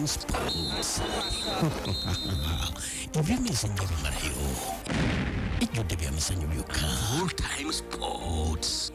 Sports. Ebyemizannyo bimalayo. Ejjudde bya mizannyo byokka. Full Time Sports.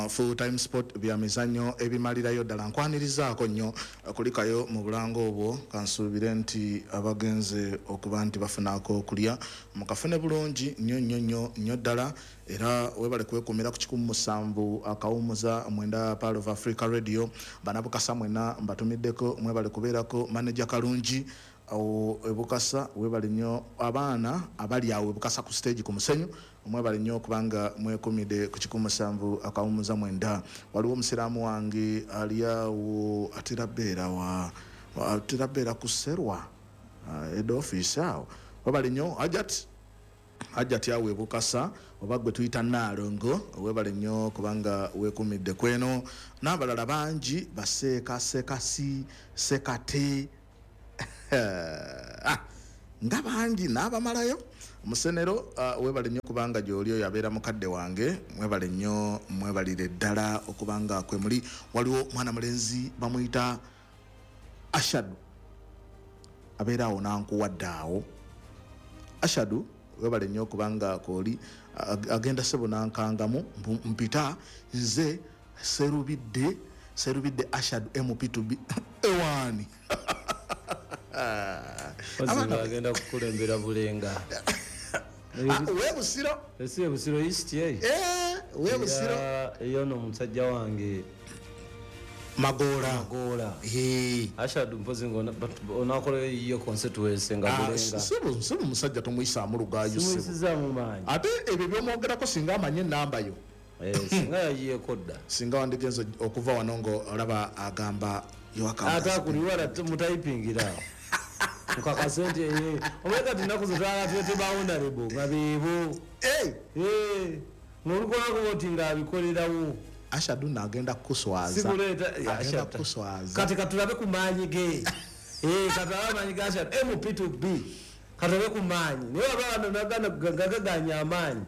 Full Time Sport, bya mizannyo ebimalirayo ddala. Nkwanirizaako nnyo kulikayo mu bulango obwo. Kansuubire nti abagenze okuba nti bafunaako okulya mukafune bulungi nnyo nnyo nnyo nnyo ddala. Era webale kwekumira ku 107.9 Pearl of Africa Radio. Banabukasa mwenna mbatumiddeko, mwebale kubeerako. Manager Kalungi awo ebukasa, webale nnyo. Abaana abali awo ebukasa ku stage ku musenyu, mwebale nnyo okubanga mwekumidde ku 107.9. Waliwo omusiraamu wange ali awo, atera beera wa, atera beera ku Serwa head office awo. Webale nnyo Hajat, Hajati awo ebukasa, oba gwe tuyita Naalongo, webale nnyo kubanga weekumidde kweno. N'abalala bangi, baseeka sekasi sekate nga bangi n'abamalayo. Musenero, webale nnyo kubanga gy'oli, oyo abeera mukadde wange. Mwebale nnyo, mwebalire ddala okubanga kwe muli. Waliwo mwana mulenzi bamuyita Ashadu, abeera awo nankuwadde awo. Ashadu, webale nnyo okubanga kwoli. Agenda sebo nankangamu mpita nze Serubidde, Serubidde Ashadu MP2B ewaani. Agenda kukulembera Bulenga. Webusiro. Esi Busiro East ye. Webusiro. Eyo no musajja wange Magola. Magola. Ashadu mpozi ngo onakola iyo constituency nga Bulenga. Sibu musajja tomuyisaamu lugaayo sibu. Simuyisizaamu maanyi. Ate ebyo byomwogerako singa amanye ennamba yo. Singa yayiyeeko dda. Singa wandigenze okuva wano ngo olaba agamba ate akuliwala mutayipingira. Nkakase nti omanye kati ennaku zo twala twete ba honorable nga beebo. Ng'olukolako oti ng'abikolerawo. Ashadu nagenda kukuswaza. Agenda kukuswaza. Kati katulabe ku maanyi ge. Katulabe amaanyi ga Ashadu MP2B. Katulabe ku maanyi. Naye waba wano gagaganya amaanyi.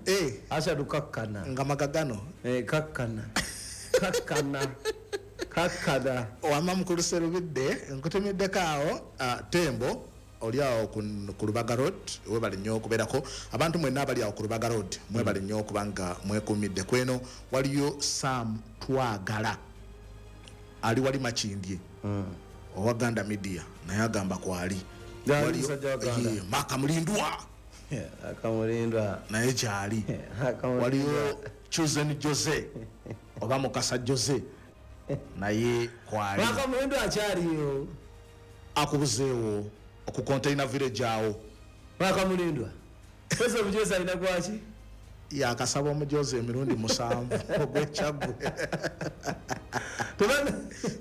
Ashadu kakkana. Nga magagano. Kakkana. Kakkana. Kakkana. Wamma mukulu Serubidde, nkutumiddeko awo Tembo oli awo ku Lubaga Road, webale nnyo okubeerako. Abantu mwenna abali awo ku Lubaga Road, mwebale nnyo okubanga mwekuumidde kweno. Waliyo Sam Twagala ali wali Makindye owa Ganda Media, naye agamba kwali. Maka Mulindwa. Akamulindwa naye kyali. Waliyo Chosen Jose oba Mukasa Jose naye kwali. Maka Mulindwa akyaliyo. Akubuzeewo ku container village awo. Maka Mulindwa. Pesa omujozi alina gwaki? Yakasaba omujozi emirundi 7 ogw'Ekyaggwe.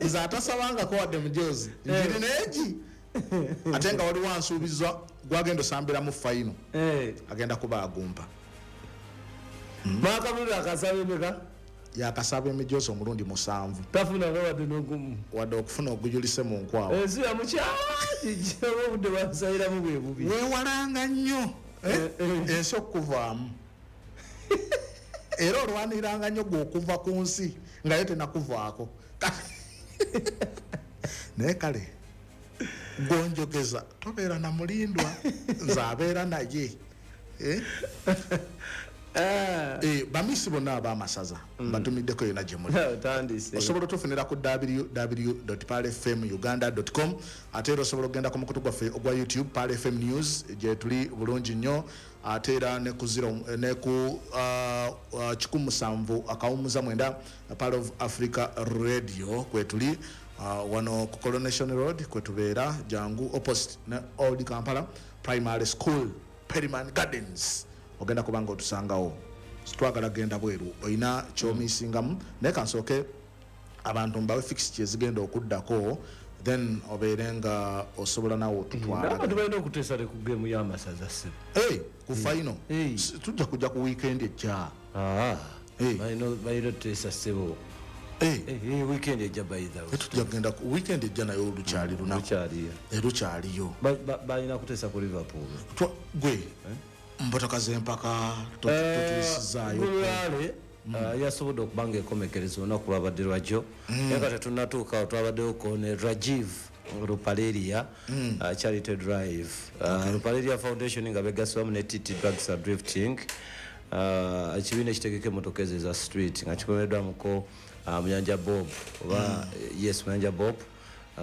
Nze atasabangako wadde mujozi. Njiri neegi. Ate nga waliwo ansuubiza gwagenda osambiramu fayino. Agenda kuba agumpa. Maka Mulindwa akasaba emeka? Yakasaba emijozi omulundi 7. Tafuna wadde n'ogumu. Wadde okufuna ogujulise mu nkwawa. Ensi yamukyawa obudde bwamusayiramu bwe bubi. Weewalanga nnyo ensi okukuvaamu. Era olwaniranga nnyo gwe okuva ku nsi nga yo tenakuvaako. Naye kale gonjogeza tobeera na Mulindwa, nze abeera naye. Bamisi bonna ab'amasaza mbatumiddeko yonna gye muli. Osobola otufunira ku www.pearlfmuganda.com. Ate era osobola okugenda ku mukutu gwaffe ogwa YouTube Pearl FM News gye tuli bulungi nnyo. Ate era ne ku zero ne ku 107.9 Pearl of Africa Radio kwe tuli. Wano ku Coronation Road kwe tubeera, jangu opposite ne Old Kampala Primary School, Perryman Gardens. Ogenda kubanga otusangawo. Twagala genda bweru olina kyomisingamu, naye kansooke abantu mbawe fixtures zigenda okuddako, then obeere nga osobola nawe otutwala. Abantu balina okuteesa ku game y'amasaza ssebo. Ku final tujja kujja ku weekend ejja. Balina otuteesa ssebo. Weekend ejja by the way. Tujja kugenda ku weekend ejja nayo olukyali lunaku. Lukyaliyo. Balina kuteesa ku Liverpool. Gwe mbotoka z'empaka tutuusizaayo. Gulwale Yasobodde okuba nga ekomekereza olunaku lwabadde lwajjo, naye nga tetunnatuuka twabaddewoko ne Rajiv Rupaleria Charity Drive, Rupaleria Foundation nga begasibwamu ne TT Drugs and Drifting, ekibiina ekitegeka emmotoka ezo eza street nga kikomeddwamuko Muyanja Bob oba yes, Muyanja Bob.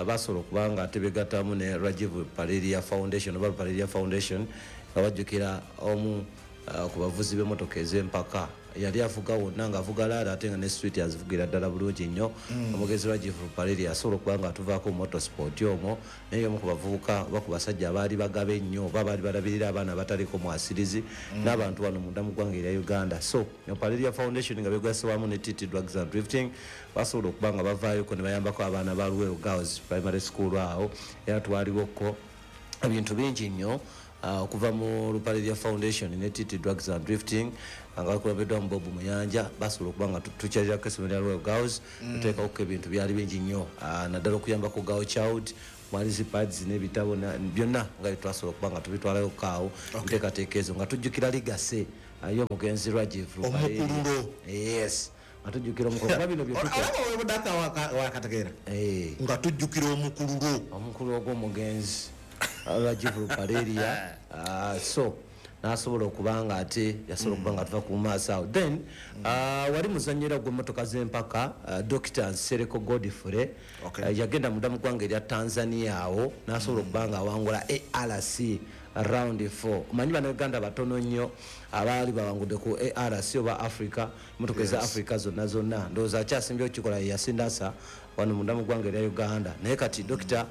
Basobola okuba nga ate begattamu ne Rajiv Rupaleria Foundation oba Rupaleria Foundation nga bajjukira omu ku bavuzi b'emmotoka ez'empaka yali avuga wonna ng'avuga laala ate nga ne street azivugira ddala bulungi nnyo. Omugezi Rajiv Rupaleria asobola okuba nga atuvaako motorsport omwo, naye omu ku bavubuka oba ku basajja abaali bagaba ennyo oba baali balabirira abaana abataliko mwasirizi n'abantu wano munda mu ggwanga erya Uganda. So Rupaleria Foundation nga begasibwamu ne TT Drugs and Drifting basobola okuba nga bavaayoko ne bayambako abaana ba Luweero Girls Primary School awo, era twaliwoko ebintu bingi nnyo okuva mu Rupaleria Foundation ne TT Drugs and Drifting nga bakulembeddwa mu Bob Muyanja. Basobola okuba nga tukyalirako essomero lya Luweero Girls, tuteekawoko ebintu byali bingi nnyo, naddala okuyambako girl child, mwali zi pads n'ebitabo byonna nga twasobola okuba nga tubitwalayo kaawo enteekateeka ezo nga tujjukira legacy y'omugenzi Rajiv Rupaleria. Omukululo. Yes, nga tujjukira omukululo kuba bino bye tukola. Olaba webudaka wakategeera nga tujjukira omukululo, omukululo ogw'omugenzi Rajiv Rupaleria. So nasobola okuba nga ate yasobola okuba nga tuva ku maaso awo. Then wali muzanyira gw'emmotoka z'empaka, Dr Nsereko Godfrey. Yagenda munda mu ggwanga erya Tanzania awo n'asobola okuba nga awangula ARC round 4. Omanyi Bannayuganda batono nnyo abaali bawangudde ku ARC oba Africa, emmotoka eza Africa zonna zonna. Ndowooza akyasimbye okukikola ye Yasindasa wano munda mu ggwanga erya Uganda. Naye kati Dr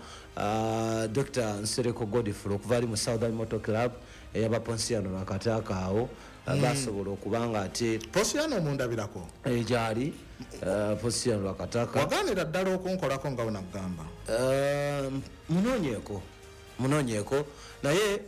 Nsereko Godfrey okuva ali mu Southern Motor Club eyaba Ponsiano Lwakataka awo, basobola okuba nga ate Ponsiano omundabirako. Gyali Ponsiano Lwakataka. Waganira ddala okunkolako nga wenagamba. Munoonyeeko naye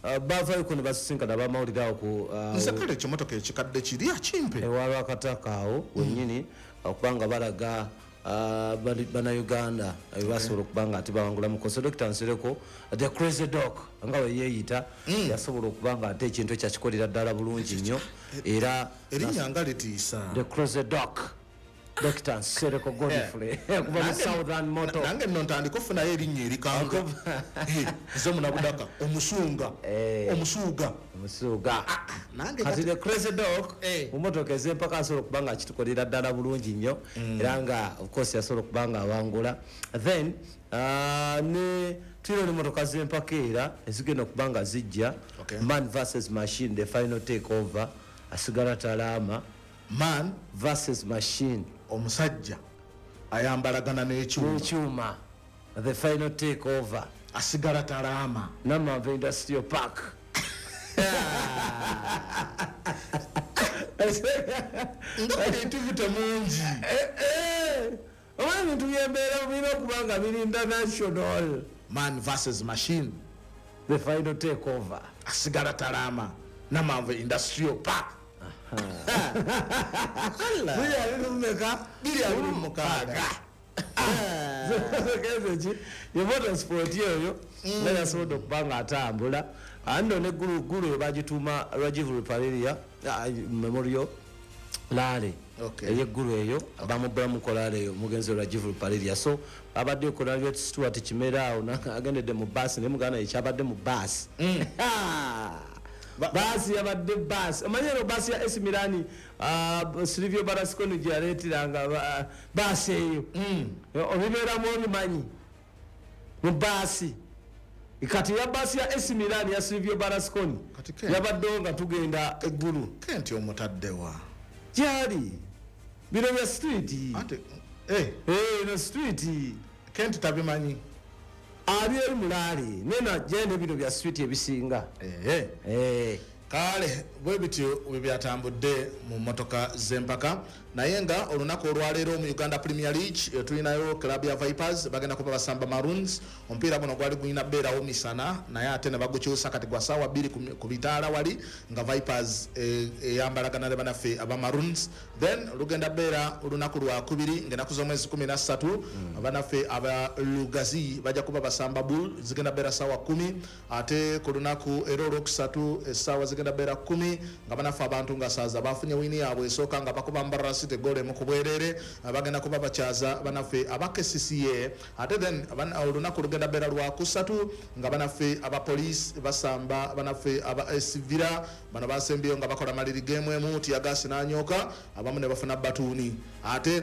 bavaayoko ne basisinkana abamawulire awo ku Nze kale ekimotoka ekikadde kiri akimpe. Ewa Lwakataka awo wennyini, okubanga balaga Bannayuganda basobola okuba nga ate bawangula mukoso. Dr Nsereko the crazy dog nga we yeeyita, yasobola okuba nga ate ekintu ekyo akikolera ddala bulungi nnyo era Erinnya nga litiisa. The crazy dog, Dr Nsereko Godfrey okuva mu Southern Motor. Nange nno ntandika ofunayo erinnya erikanga. Nze Munabudaka omusunga, omusuuga. Omusuuga. Nange kati the crazy dog mu motoka ez'empaka asobola okuba nga akitukolera ddala bulungi nnyo, era nga of course yasobola okuba nga awangula. Then ne tulina n'emmotoka z'empaka era ezigenda okuba nga zijja. Man versus machine, the final take over, asigala talaama. Man versus machine, omusajja ayambalagana n'ekyuma, n'ekyuma, the final take over, asigala talaama. Namanve Industrial Park. Nga creativity mungi. Oba ebintu byembeera birina okuba nga biri international. Man versus machine, the final take over, asigala talaama, Namanve Industrial Park. 2026. 2026. Ye motorsport eyo nga yasobodde okuba nga atambula ando ne gulu eyo bagituuma Rajiv Rupaleria Memorial Rally. Eyeggulu eyo bamubulamuko rally eyo omugenzi Rajiv Rupaleria. So babadde ko Stuart Kimera awo agendedde mu baasi, naye muganda ekyabadde mu baasi, baasi yabadde baasi. Omanyi eno baasi ya AC Milan, Silvio Berlusconi gye yaleeteranga baasi eyo, obibeeramu obimanyi mu baasi. Kati ya baasi ya AC Milan ya Silvio Berlusconi yabaddewo nga tugenda eggulu. Kenti omutaddewa? Gyali bino bya street. Eno street. Kenti tabimanyi. Ali eri mulaali nena genda bino bya street ebisinga. Kale bwe bityo bwe byatambudde mu mmotoka z'empaka. Naye nga olunaku olwaleero mu Uganda Premier League tulinayo club ya Vipers bagenda kuba basamba Maroons. Omupiira guno gwali gulina beerawo misana, naye ate ne bagukyusa kati gwa ssaawa 2 ku bitaala wali, nga Vipers eyambalagana ne banaffe aba Maroons. Then lugenda beera olunaku lwakubiri ng'ennaku z'omwezi 13, abanaffe aba Lugazi bajja kuba basamba Bull, zigenda beera ssaawa 10. Ate ku lunaku era olwokusatu essaawa zigenda beera 10, nga banaffe abantu nga saaza bafunye wini yaabwe esooka nga bakuba Mbarara City goal emu ku bwereere, bagenda kuba bakyaza banaffe aba KCCA. Ate then olunaku lugenda beera lwakusatu nga banaffe aba Police basamba banaffe aba AS Villa. Bano basembyeyo nga bakola maliri game emu, tiyagasi n'anyooka, abamu ne bafuna batuuni. Ate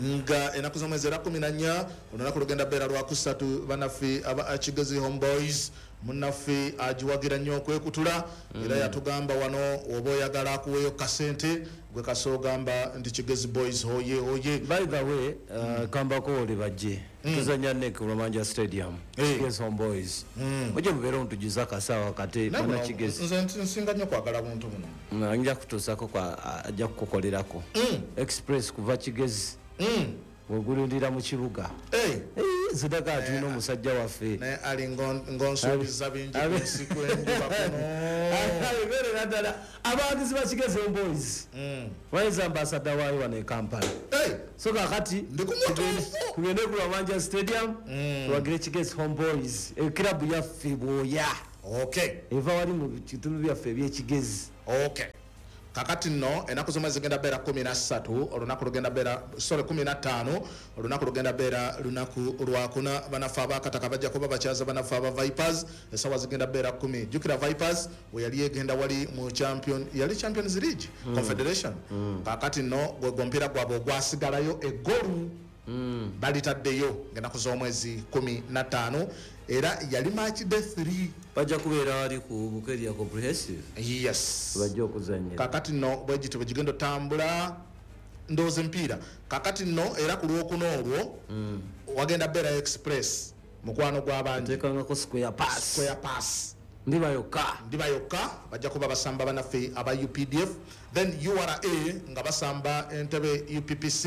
nga ennaku z'omwezi era 14, olunaku lugenda beera lwakusatu, banaffe aba Kigezi Homeboys, munnaffe agiwagira nnyo okwekutula, era yatugamba wano oba oyagala akuweeyo kasente gwe kasoogamba nti Kigezi Boys hoye hoye. By the way, kambako oli bajje tuzanya ne ku Lwamanja Stadium. Kigezi Homeboys, mujje mubeere mutujuza akasawa kate bana Kigezi. Nze nsinga nnyo kwagala buntu buno. Nja kutuusako kwa ajja kukukolerako express kuva Kigezi wegulindira mu kibuga. Zidaka tulina omusajja waffe naye ali ngonsuubiza bingi ku nsi kw'enjuba kuno. Abeerera ddala abawagizi ba Kigezi Homeboys, bayinza ambasada waayo wano e Kampala. So kakati Ndi ku mutuufu. tugende ku Lwamanja Stadium tuwagire Kigezi Homeboys, ekirabu yaffe bwoya. Eva wali mu bitundu byaffe eby'Ekigezi. Kakati nno ennaku z'omwezi zigenda beera 13, olunaku lugenda beera, sorry, 15, olunaku lugenda beera lunaku lwakuna. Banaffe abakataka bajja kuba bakyaza banaffe aba Vipers, essaawa zigenda beera 10. Jjukira Vipers we yali egenda wali mu champion, yali Champions League Confederation. Kakati nno gwe omupiira gwabwe ogwasigalayo eggolu balitaddeyo ng'ennaku z'omwezi 15, era yali match day 3. Bajja kubeera wali ku Bukeria Comprehensive. Yes. Bajja okuzannyira. Kakati nno bwe gityo bwe gigenda otambula ndowooza emipiira. Kakati nno era ku lwokuna olwo wagenda beera Express, mukwano gw'abangi. Nteekangako square pass. Square pass. Ndiba yokka. Ndiba yokka bajja kuba basamba bannaffe aba UPDF. Then URA nga basamba Entebbe UPPC.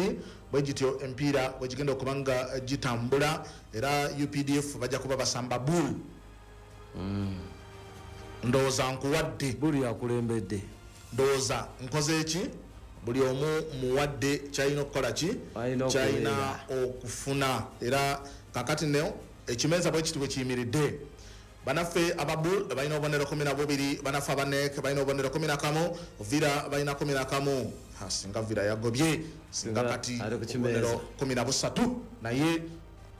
Bwe gityo emipiira bwe gigenda okuba nga gitambula, era UPDF bajja kuba basamba Bull. Ndowooza nkuwadde. Bull yakulembedde. Ndowooza nkoze eki? Buli omu muwadde kyalina okukola ki? Alina Kyalina okubeera. okufuna. Era kakati nno ekimeeza bwe kiti bwe kiyimiridde. Banaffe aba Bull balina obubonero 12, banaffe aba NEC balina obubonero 11, Villa balina 11. Singa Villa yagobye, singa Singa kati ali ku kimeeza. obubonero 13, naye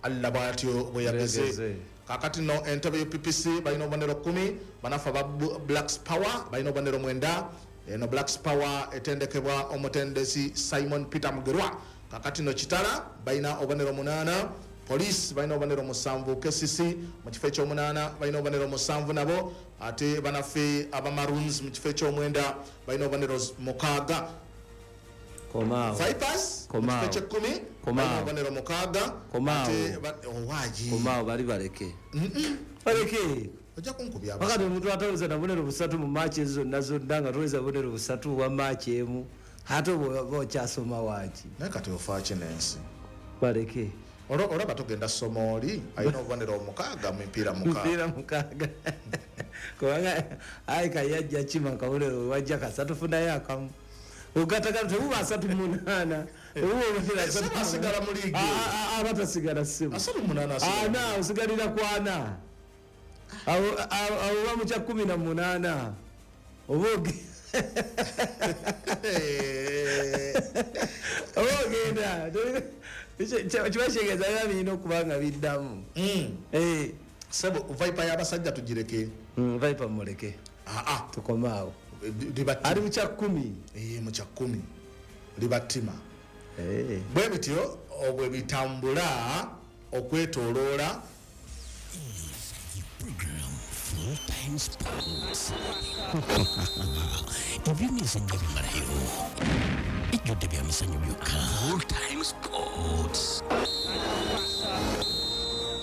Allah bw'atyo bwe yageze. Yageze. Kakati nno Entebbe UPPC balina obubonero 10, banaffe aba Blacks Power balina obubonero 9. Eno Blacks Power etendekebwa omutendesi Simon Peter Mugerwa. Kakati nno Kitara balina obubonero 8, Police balina obubonero 7, KCC mu kifo eky'omunaana balina obubonero 7 nabo, ate banaffe aba Maroons mu kifo eky'omwenda balina obubonero 6. Komaawo. Vipers mu Komaawo. kifo eky'ekkumi Komaawo. balina obubonero 6. Komaawo. Ate owaayi. Komaawo bali baleke. Baleke. Ojja kunkubya Wakati omuntu ataweza na bubonero 3 mu match ezo zonna zonna nga toweza bubonero 3 bwa match emu, ate oba okyasoma waaki? Naye kati ofa ki n'ensi? Baleke. Olaba tugenda soma oli alina obubonero 6 mu mipiira 6. Mipiira 6. Kubanga ayi kayajja kima akabonero wajja kasatu funayo akamu. Ogattagana tebuba 38. Tebuba obubonero asatu Sebo asigala mu liigi. Aba tasigala ssebo. 38 asigala. Ana, osigalira ku ana. Awo oba mu kya 18. Oba oba ogenda. Kiba kitegeeza biba birina okuba nga biddamu. Sebo, Viper y'abasajja tugireke. Viper muleke. Tukome awo. Liba Ali mu kya 10. Mu kya 10. Libattima. Bwe bityo bwe bitambula okwetooloola. Program Full Time Sports. Ebyemizannyo bimalayo. Ejjudde bya mizannyo byokka. Full Time Sports.